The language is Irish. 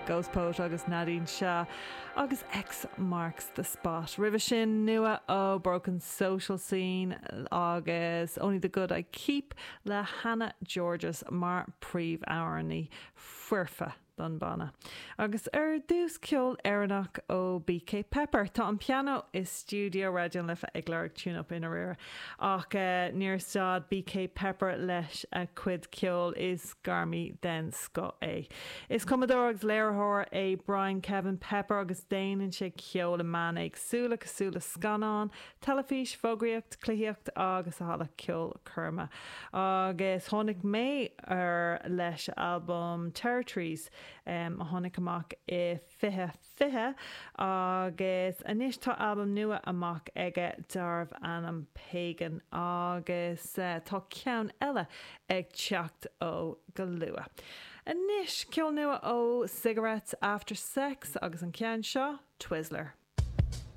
Ghostpoet agus Nadine Shah agus X Marks the Spot. Roimhe sin, nua ó Broken Social Scene agus Only the Good I Keep le Hannah Georgas mar príomhamhránaí foirfe. don bhanna. Agus ar dtús ceol Éireannach ó BK Pepper. Tá an pianó i stiúideo Raidió na Life ag lorg tune up i ndáiríre. Ach níor stad BK Pepper leis a chuid ceoil, is gairmí den scoth é. Is cumadóir agus léiritheoir é Brian Kevin Pepper agus déanann sé ceol i meáin éagsúla cosúil le scannáin, teilifís, fógraíocht, cluichíocht agus a thuilleadh ceolchoirme. Agus tháinig mé air leis albam Territories a tháinig amach i 2020 agus anois tá albam nua amach aige darbh ainm Pagan agus tá ceann eile ag teacht ó go luath. Anois ceol nua ó Cigarettes After Sex agus an ceann seo, Twizzler.